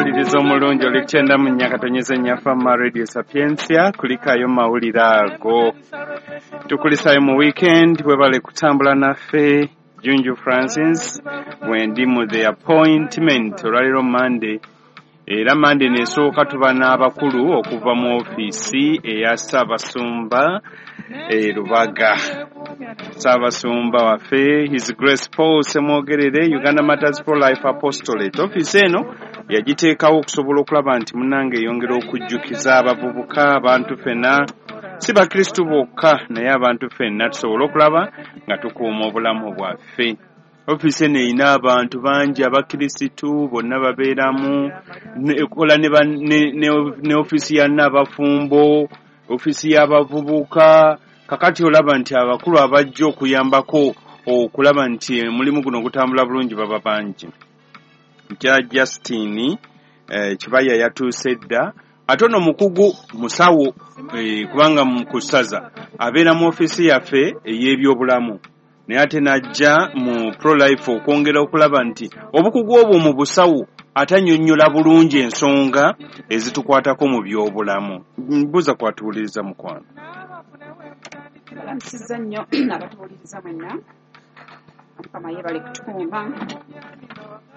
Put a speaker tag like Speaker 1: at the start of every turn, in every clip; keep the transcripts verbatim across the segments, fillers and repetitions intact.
Speaker 1: Omuwuliriza omulungi, oli kyenda mu nnya katonyeza nnya Fama Radio Sapientia. Kulikayo mawulire ago, tukulisayo mu weekend. Webale kutambula naffe. Junju Francis wendi mu The Appointment. Olwaliro Monday, era Monday nesooka tuba n'abakulu okuva mu ofiisi eya Ssaabasumba e Lubaga. Ssaabasumba waffe, His Grace Paul Semwogerere, Uganda Matters Pro Life Apostolate. Ofiisi eno yagiteekawo okusobola okulaba nti munnange eyongera okujjukiza abavubuka, abantu ffenna, si bakristu bokka, naye abantu ffenna tusobole okulaba nga tukuuma obulamu bwaffe. Ofiisi eno erina abantu bangi, abakirisitu bonna babeeramu, ekola ne, ne, ne, ne ofiisi ya nnaabafumbo, ofiisi y'abavubuka. Kakati olaba nti abakulu abajja okuyambako okulaba nti omulimu guno gutambula bulungi baba bangi. Nja Justin eh, Kibaya yatuuse dda, ate ono mukugu musawo, eh, kubanga mu kusaza abeera mu ofiisi yaffe ey'ebyobulamu, naye ate n'ajja mu pro-life okwongera okulaba nti obukugu obwo mu busawo ate annyonnyola bulungi ensonga ezitukwatako mu byobulamu. Mbuuza kwatuwuliriza, mukwano.
Speaker 2: Balamusizza nnyo abatuwuliriza mwenna. Mukama yeebale kutukuuma.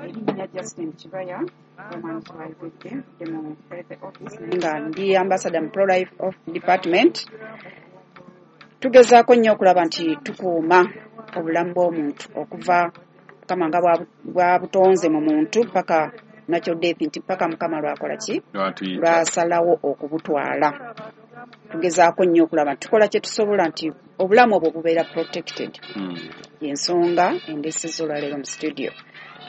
Speaker 2: Erinnya Justin Kibaya, omwami kyayogedde, nvudde mu health office naye nga ndi ambassador mu pro-life of department. Tugezaako nnyo okulaba nti tukuuma obulamu bw'omuntu okuva Mukama nga bwabutonze mu muntu paka natural death, nti paka Mukama lwakola ki, lwasalawo okubutwala. Tugezaako nnyo okulaba nti tukola kye tusobola nti obulamu obwo bubeera protected.
Speaker 1: Hmm.
Speaker 2: Yensonga endesezza olwaleero mu studio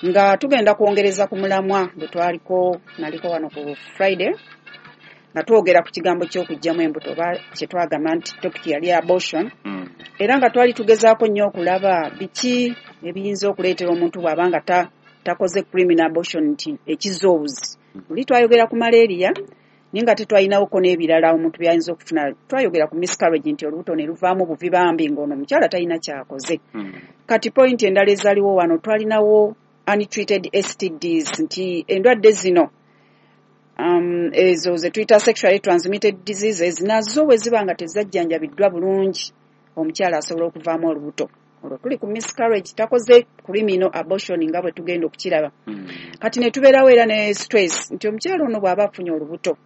Speaker 2: nga tugenda kwongereza ku mulamwa gwe twaliko naliko wano ku Friday, nga twogera ku kigambo ky'okuggyamu embuto, oba kye twagamba nti topic yali abortion.
Speaker 1: Hmm.
Speaker 2: Era nga twali tugezaako nnyo okulaba biki ebiyinza okuleetera omuntu bw'aba nga ta, takoze criminal abortion, nti ekizza obuzi. Luli twayogera ku malaria, naye nga tetwalinawoko n'ebirala omuntu byayinza okufuna. Twayogera ku miscarriage, nti olubuto ne luvaamu buvi bambi ng'ono omukyala talina kyakoze.
Speaker 1: Hmm.
Speaker 2: Kati point endala ezaaliwo wano, twalinawo untreated S T Ds, nti endwadde zino um, ezo ze tuyita sexually transmitted diseases, nazo bwe ziba nga tezajjanjabiddwa bulungi, omukyala asobola okuvaamu olubuto. Olwo tuli ku miscarriage, takoze criminal abortion nga bwe tugenda okukiraba.
Speaker 1: Hmm.
Speaker 2: Kati ne tubeerawo era ne stress, nti omukyala ono bw'aba afunye olubuto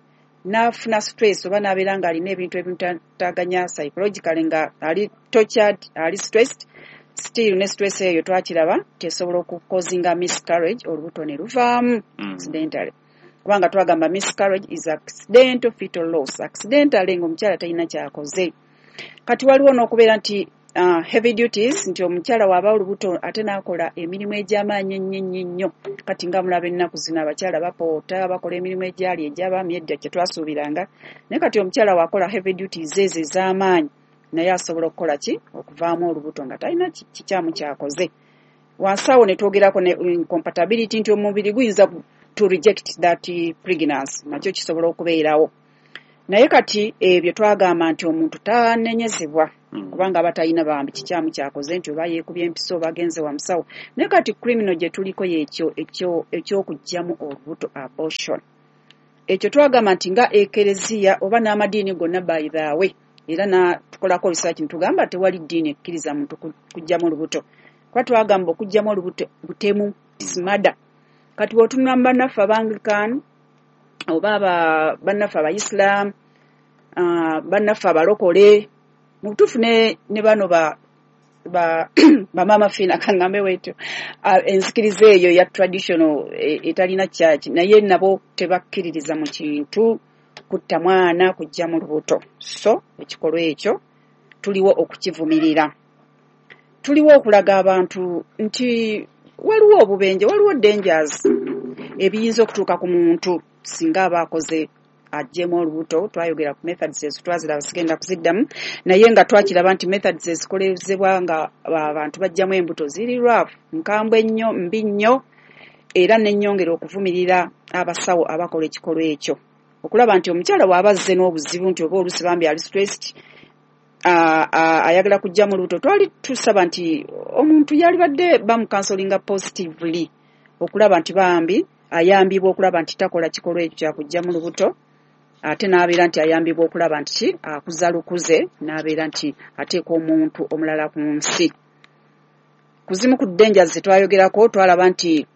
Speaker 2: n'afuna stress oba n'abeera ng'alina ebintu ebimutaganya psychologically, nga ali tortured, ali stressed, still ne stress eyo twakiraba tesobola okucausinga miscarriage, olubuto ne luvaamu
Speaker 1: Hmm.
Speaker 2: accidentally, kubanga twagamba miscarriage is accidental fetal loss, accidentally ng'omukyala talina kyakoze. Kati waliwo n'okubeera nti uh, heavy duties, nti omukyala w'aba olubuto ate n'akola emirimu egy'amaanyi ennyo ennyo ennyo. Kati nga mulaba ennaku zino abakyala bapoota, bakola emirimu egyali egy'abaami edda kye twasuubiranga, naye kati omukyala w'akola heavy duties ezo ez'amaanyi, naye asobola okukola ki, okuvaamu olubuto nga talina kikyamu kyakoze. Wansi awo ne twogerako ne incompatibility, nti omubiri guyinza to reject that pregnancy, nakyo kisobola okubeerawo. Naye kati ebyo twagamba nti omuntu tanenyezebwa,
Speaker 1: Hmm.
Speaker 2: kubanga aba talina bambi kikyamu kyakoze, nti oba yeekubye empiso oba agenze wa musawo. Naye kati criminal gye tuliko yekyo ekyokuggyamu olubuto, abortion. Ekyo twagamba nti nga ekereziya oba n'amadiini gonna, by the way, era na tukolako research ntugamba tewali ddiini ekkiriza muntu kuggyamu olubuto, kuba twagamba okuggyamu olubuto butemu, smada. Kati bw'otunula mu bannaffe Abanglican oba bannaffe Abaislam, uh, bannaffe Abalokole, mu butuufu ne, ne bano ba ba bamaama Fiina, kaŋŋambe bwetyo, uh, enzikiriza eyo ya traditional etalina church, naye nabo tebakkiririza mu kintu kutta mwana kujja mu lubuto. So ekikolwa ekyo tuliwo okukivumirira, tuliwo okulaga abantu nti waliwo obubenje, waliwo dangers ebiyinza okutuuka ku muntu singa aba akoze aggyemu olubuto. Twayogera ku methods ezo, twaziraba, sigenda kuziddamu, naye nga twakiraba nti methods ezikolezebwa nga abantu baggyamu embuto ziri rough, nkambwe nnyo, mbi nnyo. Era nennyongera okuvumirira abasawo abakola ekikolwa ekyo, okulaba nti omukyala bw'aba azze n'obuzibu, nti oba oluusi bambi ali stressed, ayagala kuggyamu olubuto, twali tusaba nti omuntu yalibadde bamucounselinga positively okulaba nti bambi ayambibwa okulaba nti takola kikolwa ekyo kyakuggyamu lubuto, ate n'abeera nti ayambibwa okulaba nti ki akuza lukuze, n'abeera nti ateeka omuntu omulala ku nsi. Ku zimu ku dangers ze twayogerako, twalaba nti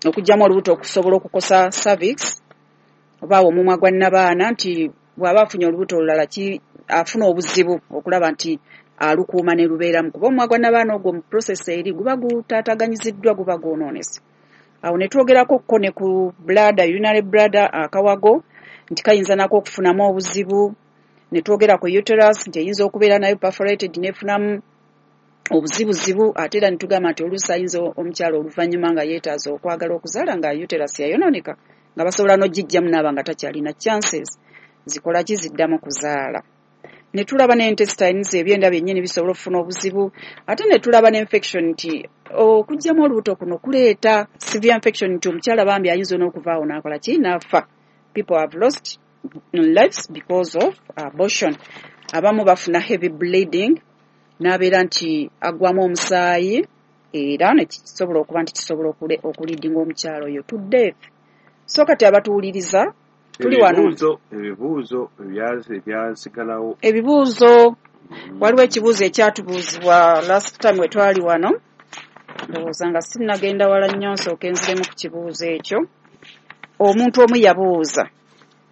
Speaker 2: okuggyamu olubuto okusobola okukosa cervix oba omumwa gwa nnabaana, nti bw'aba afunye olubuto olulala ki afuna obuzibu okulaba nti alukuuma ne lubeeramu, kuba omumwa gwa nnabaana ogwo mu process eri guba gutaataganyiziddwa, guba gwonoonese. Awo ne twogerako ko ne ku bladder, urinary bladder, akawago nti kayinza nako okufunamu obuzibu. Ne twogera ku uterus nti eyinza okubeera nayo perforated n'efunamu obuzibuzibu, ate era ne tugamba nti oluusi ayinza omukyala oluvannyuma nga yeetaaza okwagala okuzaala nga uterus yayonooneka, nga basobola n'ogiggyamu n'aba nga takyalina chances zikola ki ziddamu kuzaala. Ne tulaba ne intestines, ebyenda byennyini bisobola okufuna obuzibu, ate ne tulaba ne infection nti okuggyamu olubuto kuno kuleeta severe infection, nti omukyala bambi ayinza n'okuvaawo n'akola ki n'afa. People have lost lives because of abortion. Abamu bafuna heavy bleeding, n'abeera nti aggwamu omusaayi, era ne kisobola okuba nti kisobola okuleadinga omukyala oyo to death. So kati abatuwuliriza, tuli wano.
Speaker 1: Ebibuuzo ebibuuzo ebyasigalawo.
Speaker 2: Ebibuuzo, waliwo ekibuuzo ekyatubuuzibwa last time we twali wano. Ndowooza nga sinnagenda wala nnyo, nsooke nziremu ku kibuuzo ekyo. Omuntu omu yabuuza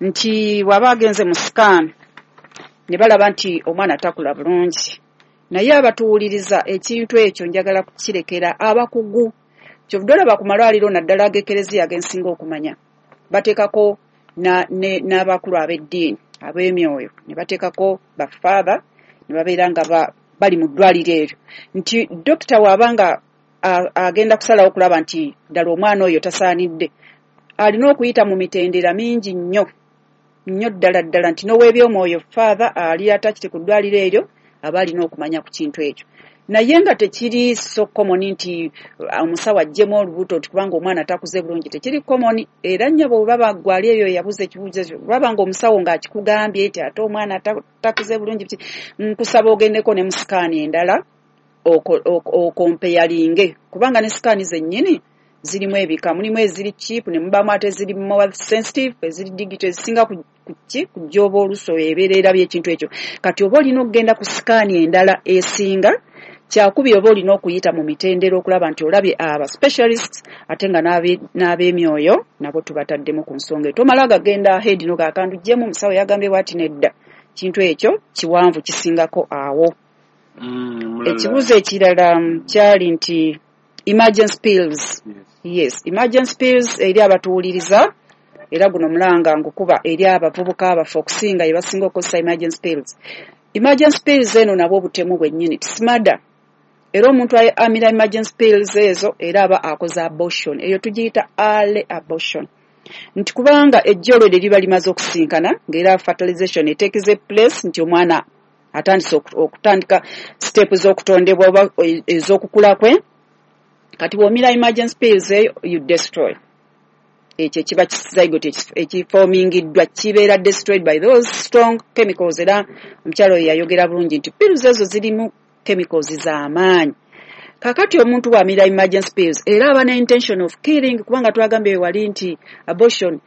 Speaker 2: nti bw'aba agenze mu scan ne balaba nti omwana takula bulungi. Naye abatuwuliriza, ekintu ekyo njagala kukirekera abakugu. Kyovudde olaba ku malwaliro, naddala ag'ekereziya agensinga okumanya, bateekako n'abakulu ab'eddiini, ab'emyoyo, ne bateekako bafaather ne babeera nga bali mu ddwaliro eryo, nti dokita bw'aba nga agenda kusalawo okulaba nti ddala omwana oyo tasaanidde, alina okuyita mu mitendera mingi nnyo nnyo ddala ddala, nti n'ow'ebyomwoyo father ali attached ku ddwaliro eryo aba alina okumanya ku kintu ekyo. Naye nga tekiri so common nti omusawo aggyemu olubuto nti kubanga omwana takuze bulungi, tekiri common. Era nnyabo bwe baba gwali eyo yabuuza ekibuuzo ekyo, bw'aba nga omusawo ng'akikugambye nti ate omwana takuze bulungi, nkusaba ogendeko ne mu scan endala ocomparinge, kubanga ne scan zennyini zirimu ebika, mulimu eziri cheap ne mubaamu ate eziri more sensitive, eziri digital, ezisinga ki kujooba oluusi ebeera erabye ekintu ekyo. Kati oba olina okugenda ku scan endala esinga, kyakubiri oba olina okuyita mu mitendera okulaba nti olabye aba specialists, ate nga n'ab'emyoyo nabo tubataddemu ku nsonga eyo. Tomala gagenda ahead n'ogamba ndugyemu, omusawo yagambye bw'ati, nedda, kintu ekyo kiwanvu kisingako awo.
Speaker 1: Mm,
Speaker 2: ekibuuzo ekirala kyali nti emergency pills. Yes, emergency pills eri abatuwuliriza, era guno mulanga ngukuba eri abavubuka baffe okusinga ye basinga okukozesa emergency pills. Emergency pills eno nabwo obutemu bwennyini, it's murder. Era omuntu amira emergency pills ezo era aba akoze abortion, eyo tugiyita early abortion, nti kubanga ejjo olwo liba limaze okusinkana ng'era fertilization etakes place, nti omwana atandise okutandika step z'okutondebwa oba ez'okukula kwe. Kati bw'omira emergency pills eyo, you destroy ekyo ekiba zygote ekiformingiddwa, kibeera destroyed by those strong chemicals. Era omukyala oyo yayogera bulungi nti pills ezo zirimu chemicals z'amaanyi. Kakati omuntu bw'amira emergency pills era aba ne intention of killing, kubanga twagambye wali nti abortion